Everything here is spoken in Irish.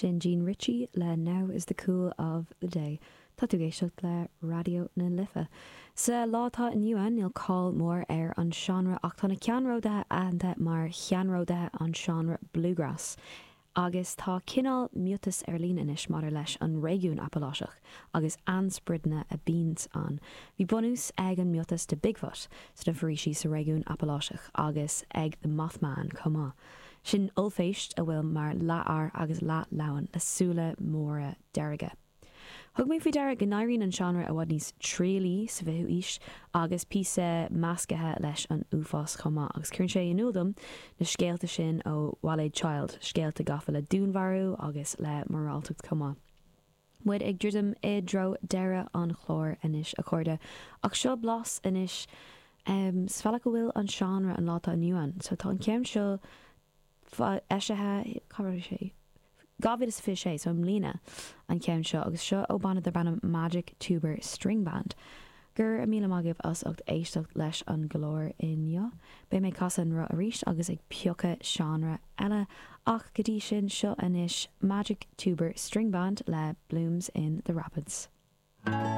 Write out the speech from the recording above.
Sin Jean Ritchie le Now is the Cool of the Day. Tá tú ag éisteacht le Raidió na Life. Sa lá atá inniu ann, níl cáil mhór ar an seánra ach tá na ceannródaithe aitheanta mar cheannródaithe an seánra bluegrass. Agus tá cineál miotas ar líne anois maidir leis an réigiún Apaláiseach agus ainspioradaí a bíonns ann. Bhí bunús ag an miotas de Bigfoot sna foraoisí sa réigiún Apaláiseach agus ag The Mothman chomh maith. Sin ollphéist a bhfuil mar leath-fhear agus leath-leamhan le súile móra dearga. Thug mé faoi deara go n-éiríonn an seánra i bhfad níos trialaí sa bhfichiú aois agus píosa meascaithe leis an uafás chomh maith agus cuireann sé in iúl dom na scéalta sin ó Bhailéad Child, scéalta gafa le dúnmharú agus le moráltacht chomh maith. Muid ag druidim i dtreo deireadh an chláir anois a chairde ach seo blas anois sa bhealach a bhfuil an seánra an lá atá inniu ann. So tá an ceann seo eisithe, cá raibh sé? 2026, so i mbliana, an ceann seo, agus seo ó banna darb ainm Magic Tuber String Band. Go raibh míle maith agaibh as ucht éisteacht leis an gclár inniu. Beidh mé ag casadh an roth arís agus ag piocadh seánra eile, ach go dtí sin, seo anois Magic Tuber String Band le Blooms in the Rapids.